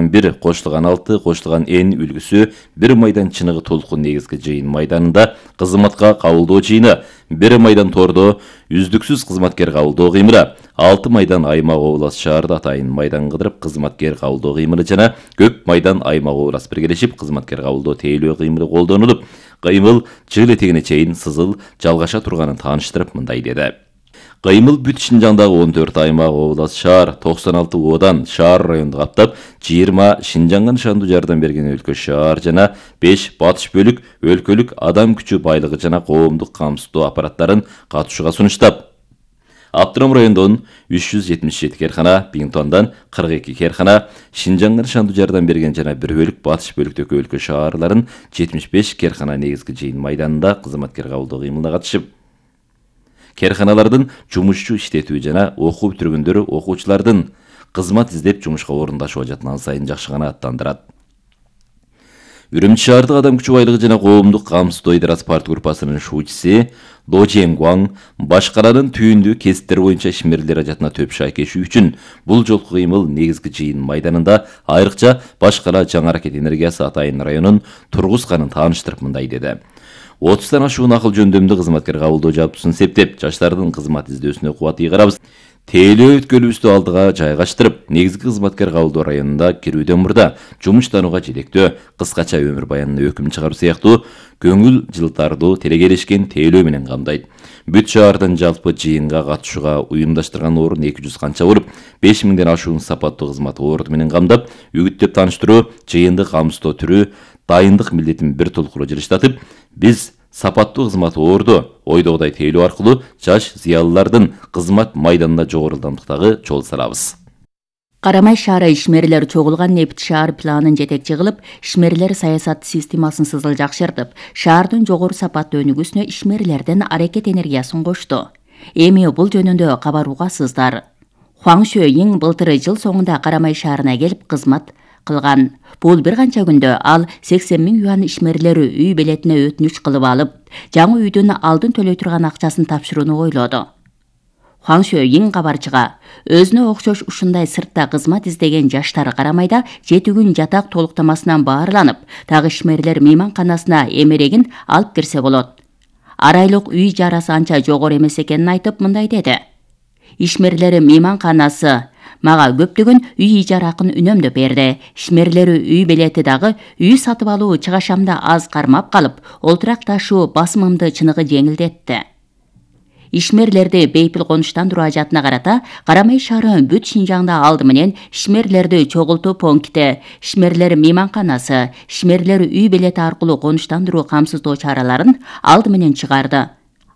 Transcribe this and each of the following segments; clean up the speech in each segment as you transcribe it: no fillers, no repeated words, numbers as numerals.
1 кошулган 6 кошулган N үлгүсү 1 майдан чыныгы толкун негизги жыйын майданында кызматка кабылдоо жыйыны, 1 майдан тордо үздүксүз кызматкер кабылдоо кыймыры, 6 майдан аймак облас шаарда атайын майдан кыдырып кызматкер кабылдоо кыймыры жана көп майдан аймак облас биргелешип кызматкер кабылдоо тейлөө кыймыры колдонулуп, кыймыл жыл этегине чейин сызыл жалгаша турганын тааныштырып мындай деди. Кыймыл бүт Шинжаңдагы 14 аймак облас шаар, 96 оодан шаар районду каптап, 20 Шинжаңга нышандуу жардам берген өлкө шаар жана 5 батыш бөлүк өлкөлүк адам күчү байлыгы жана коомдук камсыздоо аппараттарын катышууга сунуштап, Автоном райондон 377 керкана, Бингтондан 42 керкана, Шинжаңга нышандуу жардам берген жана бир бөлүк батыш бөлүктөгү өлкө шаарларын 75 керкана негизги жыйын майданында кызматкер кабылдоо кыймылына катышып, керканалардын жумушчу иштетүү жана окуу бүтүргөндөр окуучулардын кызмат издеп жумушка орундашуу ажатын сайын жакшы гана аттандырат. Үрүмчү шаардык адам күчү байлыгы жана коомдук камсыздоо идарасы парт группасынын шуучусу До Ченгуан башкаранын түйүндүү кесиптер боюнча ишмерлер ажатына төп шайкешүү үчүн бул жолку кыймыл негизги жыйын майданында айрыкча башкара жаңы аракет энергиясы атайын районун тургузганын тааныштырып мындай деди. 30тан ашуун акыл жөндөмдүү кызматкер кабылдоо жабдуусун септеп, жаштардын кызмат издөөсүнө кубат ийгарабыз. Тейлөө өткөлүбүздү алдыга жайгаштырып, негизги кызматкер кабылдоо районунда кирүүдөн мурда жумуштанууга жетектөө, кыскача өмүр баянына өкүм чыгаруу сыяктуу көңүл жылтардуу телегелешкен тейлөө менен камдайт. Бүт шаардын жалпы жыйынга катышууга уюмдаштырган орун 200 канча болуп, 5000ден ашуун сапаттуу кызмат орду менен камдап, үгүттөп тааныштыруу, жыйынды камсыздоо түрү, дайындык милдетин бир толкуру жылыштатып, биз сапаттуу кызмат орду ойдогудай тейлөө аркылуу жаш зыялылардын кызмат майданында жогору ылдамдыктагы жол салабыз. Карамай шаары ишмерлер чогулган нефт шаар планын жетекчи кылып, ишмерлер саясат системасын сызыл жакшыртып, шаардын жогору сапаттуу өнүгүүсүнө ишмерлердин аракет энергиясын кошту. Эми бул жөнүндө кабаруугасыздар. Хуаң Шөйиң былтыр жыл соңунда Карамай шаарына келип кызмат кылган. Бул бир канча күндө ал 80 000 юан ишмерлери үй белетине өтүнүч кылып алып, жаңы үйдүн алдын төлөй турган акчасын тапшырууну ойлоду. Хуаң Шөйиң кабарчыга өзүнө окшош ушундай сыртта кызмат издеген жаштар Карамайда 7 күн жатак толуктамасынан баарланып, так ишмерлер мейманканасына эмерегин алып кирсе болот. Арайлык үй ижарасы анча жогору эмес экенин айтып мындай деди. Ишмерлери мейманканасы мага көптөгөн үй ижара акын үнөмдөп берди. Ишмерлери үй белети дагы үй сатып алуу чыгашамда аз кармап калып, олтурак ташуу басымымды чыныгы жеңилдетти. Ишмерлерди бейпил конуштандыруу ажатына карата Карамай шаары бүт Шинжаңда алды менен ишмерлерди чогултуу пункти, ишмерлер мейманканасы, ишмерлер үй белети аркылуу конуштандыруу камсыздоо чараларын алды менен чыгарды.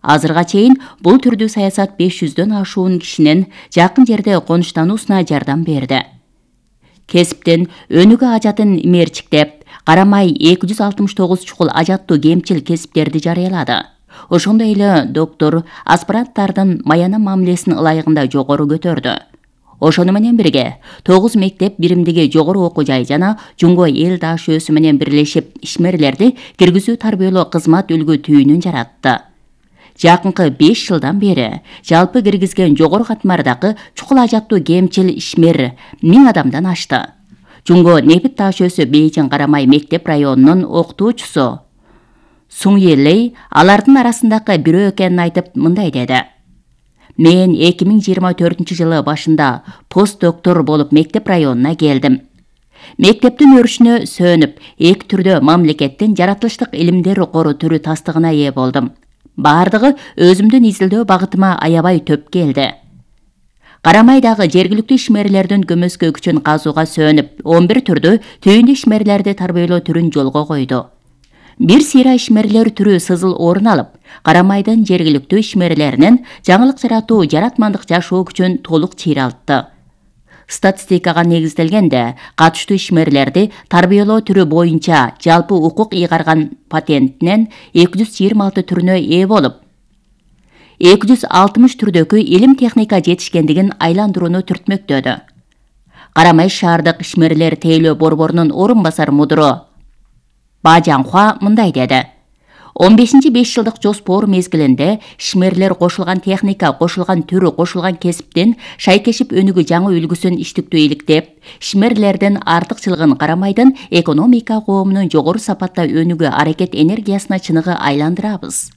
Азырга чейин бул түрдүү саясат 500дөн ашуун кишинин жакын жерде конуштануусуна жардам берди. Кесиптин өнүгүү ажатын мерчиктеп, Карамай 269 чукул ажаттуу кемчил кесиптерди жарыялады. Ошондой эле доктор аспиранттардын маяна мамилесин ылайыгында жогору көтөрдү. Ошону менен бирге 9 мектеп биримдиги жогору окуу жай жана Жумго эл даашөөсү менен бирлешип ишмерлерди киргизүү тарбиялоо кызмат үлгү түйүнүн жаратты. Жакынкы 5 жылдан бери жалпы киргизген жогору катмардагы чукул ажаттуу кемчил ишмер 1000 адамдан ашты. Жумго нефт даашөөсү Бейжиң Карамай мектеп районунун окутуучусу Суң Елей алардын арасындагы бирөө экенин айтып мындай деди. Мен 2024-жылы башында пост-доктор болуп мектеп районуна келдим. Мектептин өрүшүнө сөнүп, эки түрдө мамлекеттин жаратылыштык илимдер кору түрү тастыгына ээ болдум. Бардыгы өзүмдүн изилдөө багытыма аябай төп келди. Карамайдагы жергиликтүү ишмерлердин көмөскө күчүн казууга сөнүп, 11 түрдүү түйүндүү ишмерлерди тарбиялоо түрүн жолго койду. Бир сыйра ишмерлер түрү сызыл орун алып, Карамайдын жергиликтүү ишмерлеринин жаңылык жаратуу, жаратмандык жашоо күчүн толук чыйралтты. Статистикага негизделгенде, катыштуу ишмерлерди тарбиялоо түрү боюнча жалпы укук ыйгарган патентинен 226 түрүнө ээ болуп, 260 түрдөгү илим техника жетишкендигин айландырууну түртмөктөдү. Карамай шаардык ишмерлер тейлөө борборунун орун басар мудуру Ба Жаңхуа мындай деди. 15-5 жылдык жоспор мезгилинде ишмерлер кошулган техника, кошулган түрү, кошулган кесиптен шайкешип өнүгүү жаңы үлгүсүн иштиктүү иликтеп, ишмерлердин артыкчылыгын карамайдын экономика коомунун жогору сапатта өнүгүү аракет энергиясына чыныгы айландырабыз.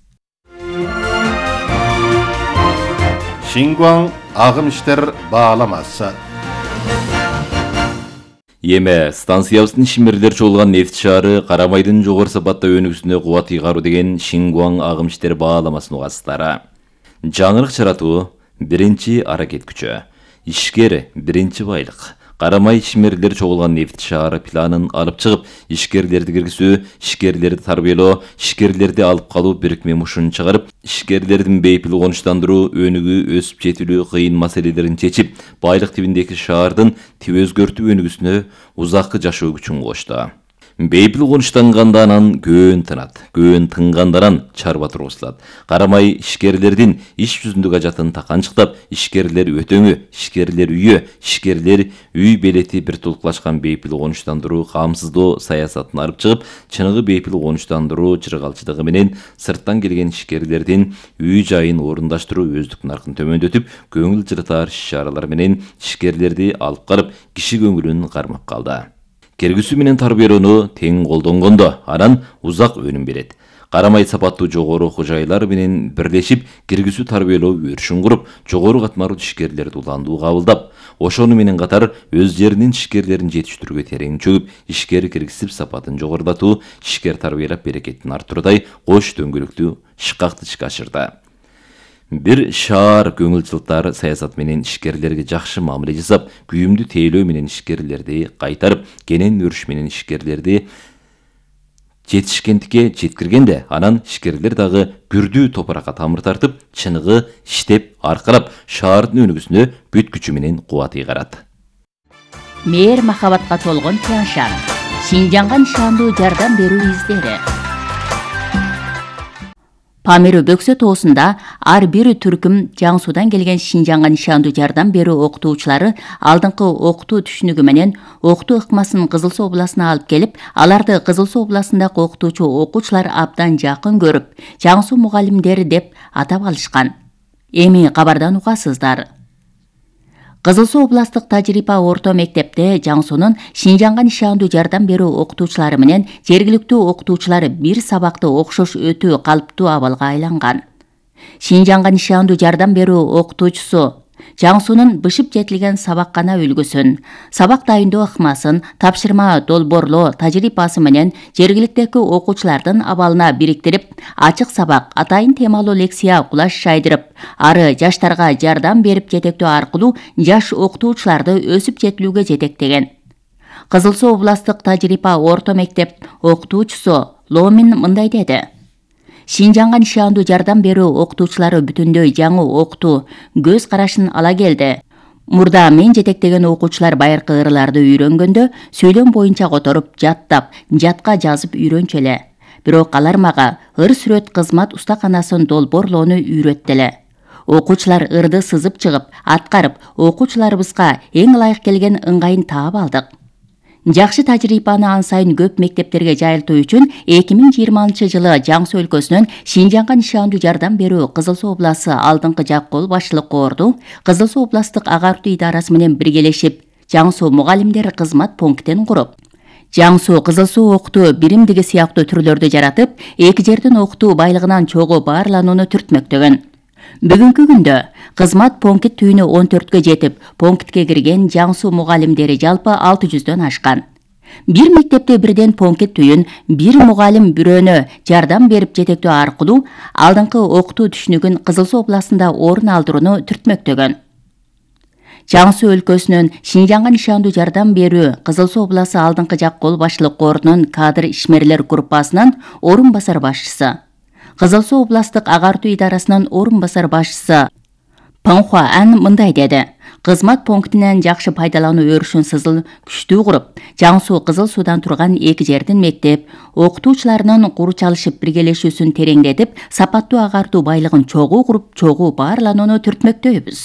Шингуан агым иштер бааламасы. Эме станциябыздын ишмерлер чогулган нефть шаары Карамайдын жогору сапатта өнүгүүсүнө кубат ыйгаруу деген Шингуан агым иштер бааламасын угасыздар. Жаңырык жаратуу биринчи аракет күчү, ишкер биринчи байлык. Карамай ишмерлер чогулган нефть шаары планын алып чыгып, ишкерлерди киргизүү, ишкерлерди тарбиялоо, ишкерлерди алып калуу бирикме мушун чыгарып, ишкерлердин бейпил конуштандыруу, өнүгүү, өсүп жетилүү кыйын маселелерин чечип, байлык тибиндеги шаардын тип өзгөртүү өнүгүүсүнө узаккы жашоо күчүн кошту. Бейпил конуштанганда анан көөн тынат, көөн тынгандан анан чарба тургузулат. Карамай ишкерлердин иш жүзүндөгү ажатын таканчыктап, ишкерлер өтөңү, ишкерлер үйө, ишкерлер үй белети бир толуклашкан бейпил конуштандыруу камсыздоо саясатын алып чыгып, чыныгы бейпил конуштандыруу чыргалчылыгы менен сырттан келген ишкерлердин үй жайын орундаштыруу өздүк наркын төмөндөтүп, көңүл жылытар иш-чаралар менен ишкерлерди алып карып, киши көңүлүн кармап калды. Киргизүү менен тарбиялоону тең колдонгондо анан узак өнүм берет. Карамай сапаттуу жогору кожойлар менен бирлешип, киргизүү тарбиялоо өрүшүн куруп, жогору катмарлуу ишкерлерди уландуу кабылдап, ошону менен катар өз жеринин ишкерлерин жетиштирүүгө терең чөгүп, ишкер киргизип сапатын жогорулатуу, ишкер тарбиялап берекетин арттыруудай кош дөңгөлөктүү шыкакты ишке ашырды. Бир шаар көңүл жылтар саясат менен ишкерлерге жакшы мамиле жасап, күйүмдүү тейлөө менен ишкерлерди кайтарып, кенен өрүш менен ишкерлерди жетишкендикке жеткиргенде, анан ишкерлер дагы күрдүү топуракка тамыр тартып, чыныгы иштеп, аркалап, шаардын өнүгүүсүнө бүт күчү менен кубат ыйгарат. Мээр махабатка толгон Тяншан, Шинжанга нишандуу жардам берүү издери. Памиру Бөксө тоосунда ар бир түркүм Жаңсудан келген Шинжанга нишандуу жардам берүү окутуучулары алдыңкы окутуу түшүнүгү менен окутуу ыкмасын Кызыл Суу областына алып келип, аларды Кызыл Суу областындагы окутуучу окуучулар абдан жакын көрүп, Жаңсу мугалимдери деп атап алышкан. Эми кабардан угасыздар. Кызыл Суу областык тажрыйба орто мектепте Жаңсунун Шинжанга нишандуу жардам берүү окутуучулары менен жергиликтүү окутуучулар бир сабакты окшош өтүү калыптуу абалга айланган. Шинжанга нишандуу жардам берүү окутуучусу Жаңсунун бышып жетилген сабаккана үлгүсүн, сабак дайындоо ыкмасын, тапшырма долбоорлоо тажрыйбасы менен жергиликтеги окуучулардын абалына бириктирип, ачык сабак, атайын темалуу лекция кулаш жайдырып, ары жаштарга жардам берип жетектөө аркылуу жаш окутуучуларды өсүп жетилүүгө жетектеген. Кызыл Суу областык тажрыйба орто мектеп окутуучусу Ломин мындай деди. Шинжанга нишандуу жардам берүү окутуучулары бүтүндөй жаңы окутуу көз карашын ала келди. Мурда мен жетектеген окуучулар байыркы ырларды үйрөнгөндө сөйлөм боюнча которуп, жаттап, жатка жазып үйрөнчү эле. Бирок алар мага ыр сүрөт кызмат устаканасын долбоорлоону үйрөттү эле. Окуучулар ырды сызып чыгып, аткарып, окуучуларыбызга эң ылайык келген ыңгайын таап алдык. Жакшы тажрыйбаны ан сайын көп мектептерге жайылтуу үчүн 2020 жылы Жаңсу өлкөсүнөн Шинжанга нишандуу жардам берүү Кызыл Суу обласы алдыңкы жак кол башчылык корду Кызыл Суу областык агартуу идарасы менен биргелешип, Жаңсу мугалимдер кызмат пунктин куруп, Жаңсу Кызыл Суу окутуу биримдиги сыяктуу түрлөрдү жаратып, эки жердин окутуу байлыгынан чогуу баарланууну түртмөктөгөн. Бүгүнкү күндө кызмат пункт түйүнү 14кө жетип, пунктке кирген Жаңсу мугалимдери жалпы 600дөн ашкан. Бир мектепте бирден пункт түйүн, бир мугалим бирөөнө жардам берип жетектөө аркылуу алдыңкы окутуу түшүнүгүн Кызыл Суу областында орун алдырууну түртмөктөгөн. Жаңсу өлкөсүнүн Шинжанга нишандуу жардам берүү Кызыл Суу обласы алдыңкы жак кол башчылык корунун кадр ишмерлер группасынын орун басар башчысы, Кызыл Суу областык агартуу идарасынын орун басар башчысы Панхуа Ан мындай деди. Кызмат пунктинен жакшы пайдалануу өрүшүн сызыл күчтүү куруп, Жаңсу Кызыл Суудан турган эки жердин мектеп окутуучуларынын куру чалышып биргелешүүсүн тереңдетип, сапаттуу агартуу байлыгын чогуу куруп, чогуу баарланууну түртмөктөйбүз.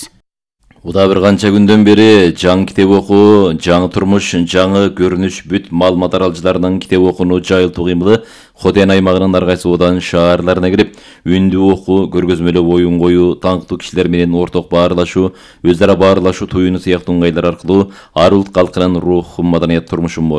Уда bir канча күндөн бери жаңы китеп окуу, жаңы турмуш, жаңы көрүнүш бүт маалымат аралчыларынын китеп окууну жайылтуу кыймылы Хотен аймагынын ар кайсы Удан шаарларына кирип, үндүү окуу, көргөзмөлөп оюн коюу, таңктуу кишилер менен орток баарлашуу, өзара баарлашуу туюну сыяктуу ыңгайлар аркылуу ар улут калкынын рухун, маданият турмушун